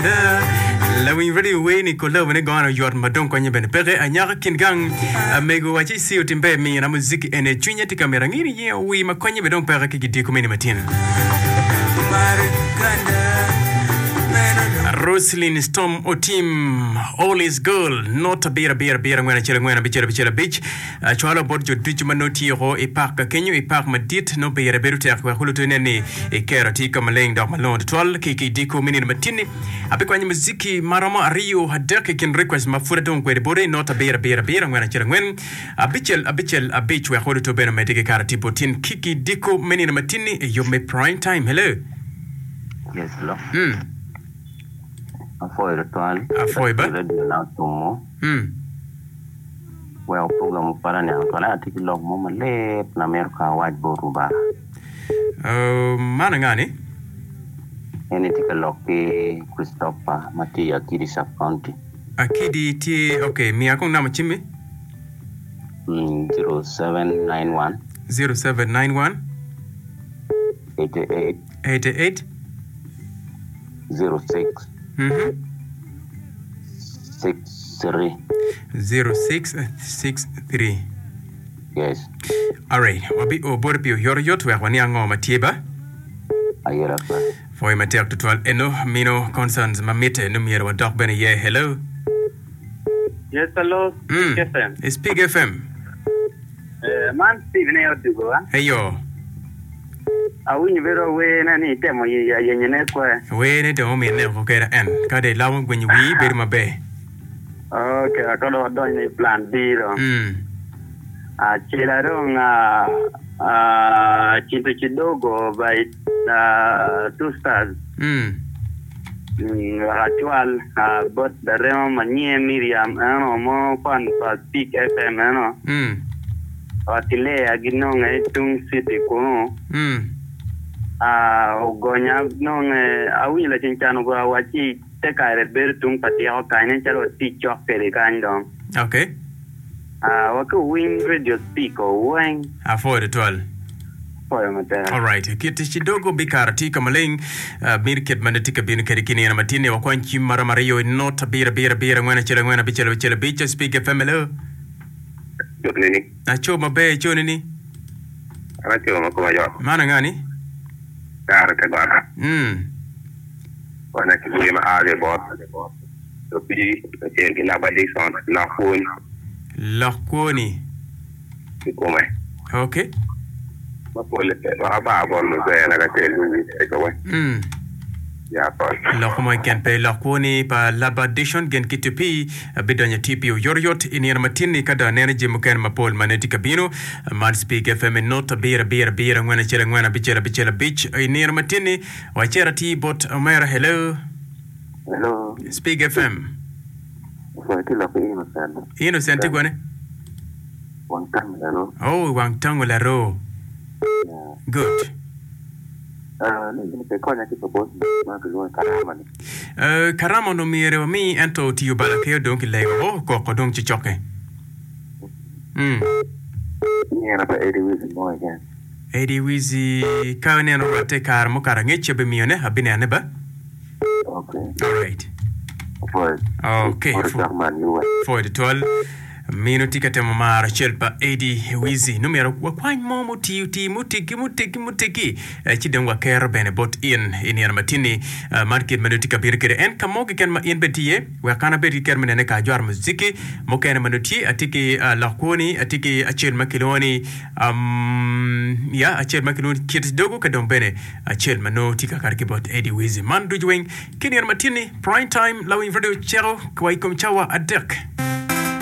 Uganda. Lawiny radio wer ni kolabo ne gono yot ma dong konye bene peke. Anyaka kin gang amego waci ci otim ber mina muziki ene cwinya tye ka mito angi ni ye owi ma konye bene dong peke ki gidiko meni matin. Roslyn Storm Otim All is Girl not abiro abiro abiro angwen acel angwen abicel abicel abic Acwalo bot jo ducu ma nongo tye woko i pak ka kenyo i pak madit nongo pire bedo tek wek oluto inen ni ikero tye ka maleng dok malongo tutwal ki ki diko me nino matinni. Abikwanyo muziki ma romo ariyo adek i kin request ma pud adong kwede bote i not abiro abiro abiro angwen acel angwen abicel abicel abic wek oluto bene omedde ki kare tipo tin ki ki diko me nino matinni i yub me prime time. Hello. Yes, hello. Mm. Apwoyo tutwal. Apwoyo ba. Radio na otumo. Mm. Wek program opat aniang twal ento atye ki lok mo malit na amito ka awac botwu ba. Man anga ni? En ni tye ka lok ki Christopher ma tye i Akidi Sub County. Akidi tye ok miya kong namba cimmi. 0791. 0791. 88. 88. 06. Mhm. 63. 0663. Yes. Alright, wabi o boti pi oyotoyot wek waniang ngo ma tye ba. Ayera pe. Pwoyo matek tutwal eno mino concerns ma mitte ni myero wadok bene iye. Hello. Yes, hello, Mm. Speak FM. Speak FM. Eh, man Steve ne odugo a. Eyo. Awinyo bedo awene ni itemo yenyone kwe. Wene dong ominne oko keda en. Ka dong ilamo gwenyo wii bedo maber. Ok, ka dong wadonyo i plan B dong. Mm. Acela dong ah, Kintu Kidogo by Two Stars. Mm. Mm, wek acwal bot larema ma nyinge Miriam eno mo fan pa Peak FM eno. Mm. Ot ki Lea ginonge i tung citi kunu. Ogonya nonge awinyo laceng can ogoya wacci te kare bedo tung pa tiko kany nen calo watye cok kwede kany dong. Okay. Wa ki owiny radio speaker weng. Apwoyo tutwal. Apwoyo matek. Alright, kit cidogo bikaro tye ka maleng uh, mir kit ma tye ka bino kwede ki nino matin ni wakwany cim maromo ariyo i not abiro abiro abiro angwen acel angwen abicel abicel abic Speak FM hello. Cone ni. Aco maber icone ni. An aco ma koma yot. Man anga ni? Kare te got. Mm. Wan ki wer ma a ki bot Opii kacel ki Laba Dickson lok pwony. Lok kwoni. Kikome. Ok. Ma pole pe wek abar bot muzee-na kacel ki wic kikome. Mm. Ya pol. Lok mo keken pe lok kwoni pa Laba Dickson gin ki TP bidonyo TP oyotoyot i nino matin-ni ka dong aneno jami mukene mapol ma nongo tye ka bino. Man Speak FM i not abiro abiro abiro angwen acel angwen abicel abicel abic i nino matin-ni. Wacito atir bot omera hello. Hello. Speak FM. Sorry, tye lok ki Innocent. Innocent tye kwane? Wang tango laro. Oh, wang tango laro. Yeah. Good. Uh, ni in pe konya ki pa bot ma kilwongo karama ni. Uh, karama onongo myero wami ento otiyo bala ke odong ki lego oh, koko dong ci cokke. Mm. Nyera pa Eddie Wizzy mo keken. Eddie Wizzy ka ineno rwatte i kare mukato angec abimiyone abinene ba. Okay. Alright. Apwoyo. Okay. Pwoyo cok man yuba. Pwoyo tutwal. Mino tye ka temo maro cel pa Eddie Wizzy. Nongo myero wakwany mo mutii otii muteggi muteggi muteggi eh, ci dong wakero bene bot in i nino matin-ni. Eh, man kit ma nongo tye ka bino kwede. En ka mo keken ma in bene tye iye, wek an abed ki kero me nene ka ajwaro muziki mukene ma nongo tye. Atye ki uh, lok kwoni, atye ki acel ma kilwongo ni um, ya acel ma kilwongo ni Kit Dogo ka dong bene acel ma nongo tye ka kato ki bot Eddie Wizzy. Man ducu weng ki nino matin-ni, Prime Time Lawiny Radio ceko wa i kom cawa adek.